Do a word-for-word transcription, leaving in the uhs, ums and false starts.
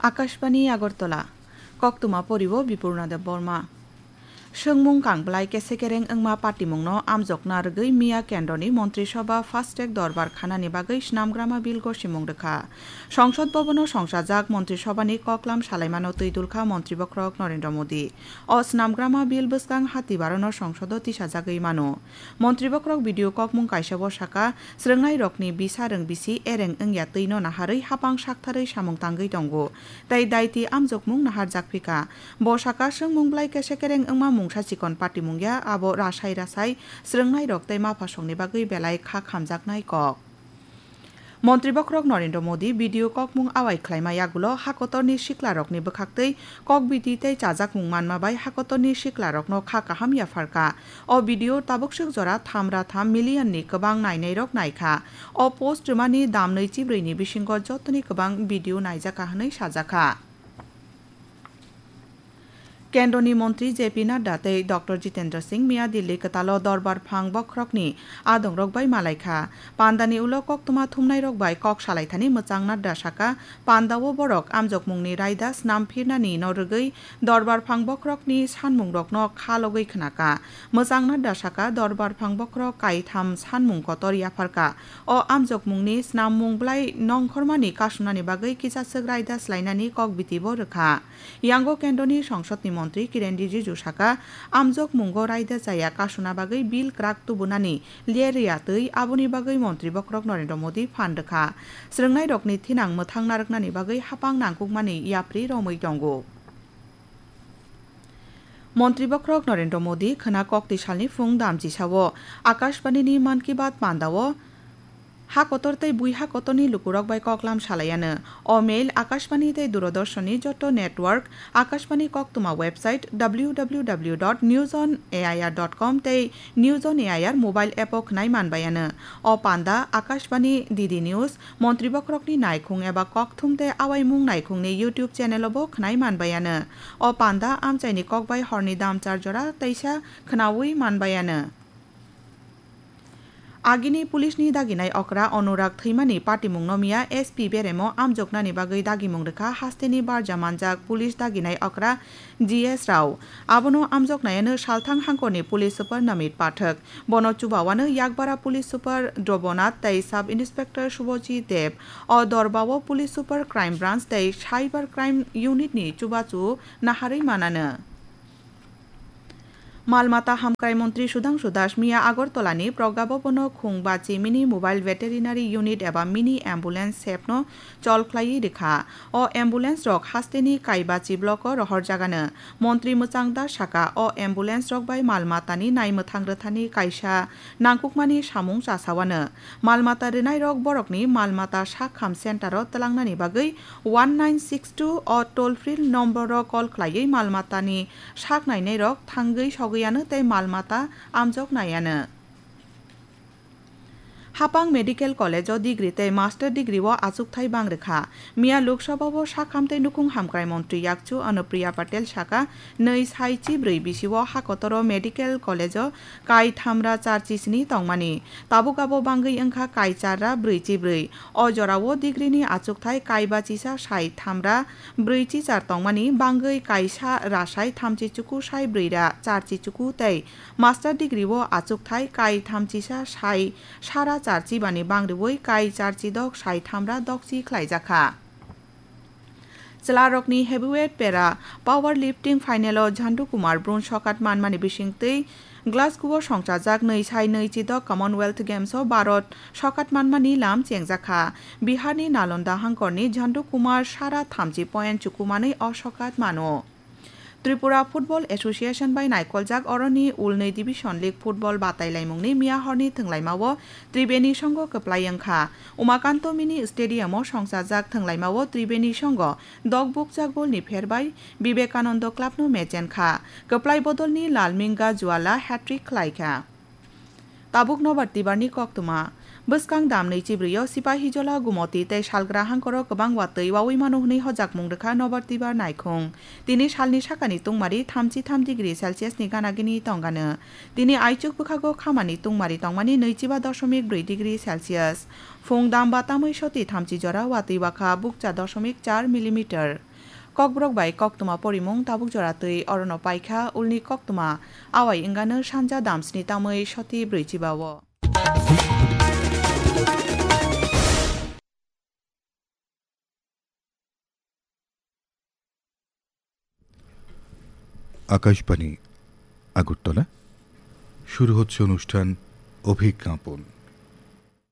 Akashbani Agartala, koktwma poriwo Bipurna Debbarma. Swngmung kangblai kesekereng wngma patimungno amjokna rwgwi miya kendroni Montri Sabha Fast Track Dorbar khanani bagwi snamgrama bill gosimung rwkha. Songsod Bhabono songchajak Montri Sabhani koklam salaimano twi dulkha Montri Bokhorok Narendra Modi. O snamgrama bill bwskang hatibarono songsodo tisajagwi mano. Montri Bokhorok video kokmung kaisao saka, srwngnairokni bisa rwng bisi ereng wngya twino naharwi hapang saktharwi samung tangwi tongo, tei daiti amjokmung naharjak phika. Bo saka, swngmung blai kesekereng wngma mungsa chikon patimung ya, abo rasai rasai srwngnairok tei maphasongni bagwi belai kha khamjaknai kok. Montri Bokhorok Narendra Modi video kokmung awai khlaima yagulo hakotorni siklarokni bwkhaktwi kokbiti tei chajakmung manma bai hakotorni siklarokno kha kaham yapharkha. O video tabukswk jora tham ra tham million ni kwbang nainairok naikha. O post rwmani dam nwichibrwi ni bisingo jotoni kwbang video naijakha hwnwi sajakha. Kendroni Montri J P Nadda tei Doctor Jitendra Singh miya Delhi kwtalo Dorbar Phang Bokhorokni adongrok bai malaikha. Pandani ulo koktwma thumnairok bai kok salaithani mwchang Nadda saka, pandao borok amjokmungni raida snam phirnani no rwgwi Dorbar Phang Bokhorokni sanmungrokno kha logwi khnaka. Mwchang Nadda saka, Dorbar Phang Bokhorok kaitham sanmung kotor yapharka. O amjokmungni snammung blai nongkhormani kasunani bagwi kisa swk raida swlainani kokbitibo rwkha. Yango kendroni songsodni montri Kiren Rijiju saka, amjokmungo raida chaya kasuna bagwi bill kwrak tubunani ler ya twi aboni bagwi Montri Bokhorok Narendra Modi phan rwkha. Srwngnairokni thinang mwthang narwknani bagwi hapang nangkukmani yapri romwi tongo. Montri Bokhorok Narendra Modi khwna kokti salni phung damchisao Akashbanini Mann Ki Baat pandao ha kotor tei bui ha kotorni lukurok bai koklam salaiano. O mail Akashbani tei Doordarshanni joto network, Akashbani koktwma website W W W dot news on A I R dot com tei News on A I R mobile app o khwnai manbaiano. O panda Akashbani D D News, Montri Bokhorokni naikhung eba kokthum tei awaimung naikhungni YouTube channel o bo khwnai manbaiano. O panda amchaini kokbai horni dam char jora teisa khwnaui manbaiano. Agini police ni daginai okra Anurag thwimani patimungno miya S P beremo amjoknani bagwi dagimung rwkha hasteni barja manjak police daginai okra G S Rao. Abono amjoknaiano salthang hangkorni police super Namit Pathak. Bono chubawano Yakbara police super Drobonath tei sub inspector Subhajit Deb. O dorbao police super crime branch tei cyber crime unit ni chubachu naharwi manano. Mal mata hamkrai montri Sudhangshu Das miya Agartala ni Pragya Bhavan o khung bachi mini mobile veterinary unit eba mini ambulance sep no chol khlaiwi rwkha. O ambulance rok hasteni Kaibachi block o rohorjagano. Montri Mwchang Das saka, o ambulance rok bai mal mata ni naimwthang rwthani kaisa nangkukmani samung chasawano. Mal mata rwnairok borokni mal mata sak kham center o twlangnani bagwi one nine six two o toll free number o call khlaiwi mal matani sak nainairok thangwi sogwi ano tei mal mata amjok nai ano. Hapang Medical College o degree tei master degree o achukthai bang rwkha. Miya Lok Sabha o sakham tei nukhung hamkrai montri yakchu Anupriya Patel saka, nwi sai chibrwi bisi o hakotoro Medical College o kai thamra charchi sini tongmani. Tabuk abo bangwi wngkha kai char ra brwi chibrwi. O jorao degree ni achukthai kai bachisa sai thamra brwi chichar tongmani bangwi kaisa rasai thamchi chuku sai brwi ra charchi chuku tei master degree o achukthai kai thamchisa sai sara charchi bani bangriwi kai charchi dok sai thamra dokchi khlaijakha. Chwlarokni heavyweight para power lifting final o Jhandu Kumar bronze sokat manmani bisingtwi Glasgow o songchajak nwi sai nwi chidok Commonwealth Games o Bharat sokat manmani lam chengjakha. Biharni Nalonda hangkorni Jhandu Kumar sara thamchi point chukumanwi o sokat mano. Tripura Football Association bai naikoljak oroni ulnwi Division League Football batailaimungni miya horni thwnglaimao Tribeni songo kwplai wngkha. Umakanto Mini Stadium o songchajak thwnglaimao Tribeni songo dokbukjak golni pherbai Vivekananda Club no mechenkha. Kwplai bodolni Lalminga Juala hat-trick khlaikha. Tabuk nobar tibarni koktwma. Bwskang damni chibrwi o Sipahijola, Gumoti tei Salgra hangkoro kwbang watwi wawi mano hwnwi hojakmung rwkha nobar tibar naikhung. Tini salni sakani tungmari thamchi tham degree Celsius ni ganagini tongano. Tini aichuk bwkhago khamani tungmari tongmani nwichiba dosomik brwi degree Celsius. Phung damba tamwi soti thamchi jora watwi wakha bukcha dosomik char millimeter. Kokborok bai koktwma porimung tabuk jora twi orono paikha ulni koktwma, awai wngano sanja damsni tamwi soti brwichiba o. Akashbani, Agartala. শুরু হচ্ছে অনুষ্ঠান অভিজ্ঞাপন।